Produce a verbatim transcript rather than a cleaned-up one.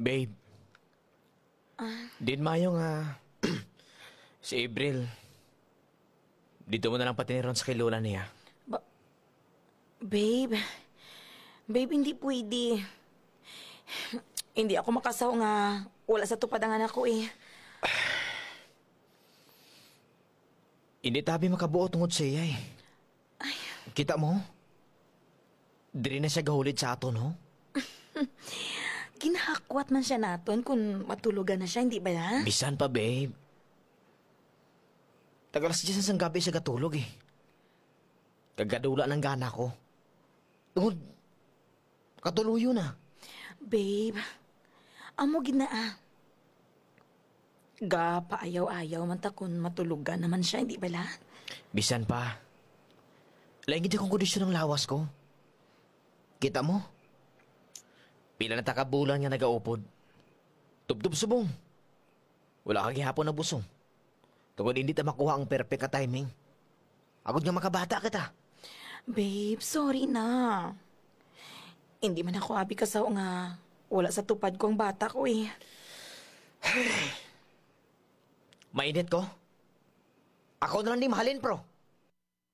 Babe, din mayo nga si April, dito mo na lang patiniron sa kay lola niya. Ba-, babe, babe, hindi pwede. Hindi ako makasaw nga wala sa tupad ang anak ko eh. Hindi tabi makabuot tungod sa iya eh. Kita mo? Diri na siya gahulid sa aton, ho? Ginahakwat man siya naton kung matulogan na siya, hindi bala? Bisan pa, babe. Tag alas diyes na sang gabi siya gatulog, eh. Kag gadula ng gana ko. Tungod, katuloyo na. Babe, amo gid na, ah. Gapaayaw-ayaw man ta kung matulogan naman siya, hindi bala? Bisan pa. Lain gid akong kondisyon ng lawas ko. Kita mo? Pila na ta ka bulan nga nagaupod. Tubtob subong. Wala ka gihapon nabusong. Tungod hindi ta makuha ang perfect nga timing. Agod nga makabata kita. Babe, sorry na. Hindi man ako abi kasaw nga wala sa tupad ko ang bata ko eh. Mainit ko. Ako na lang ni mahalin, pro.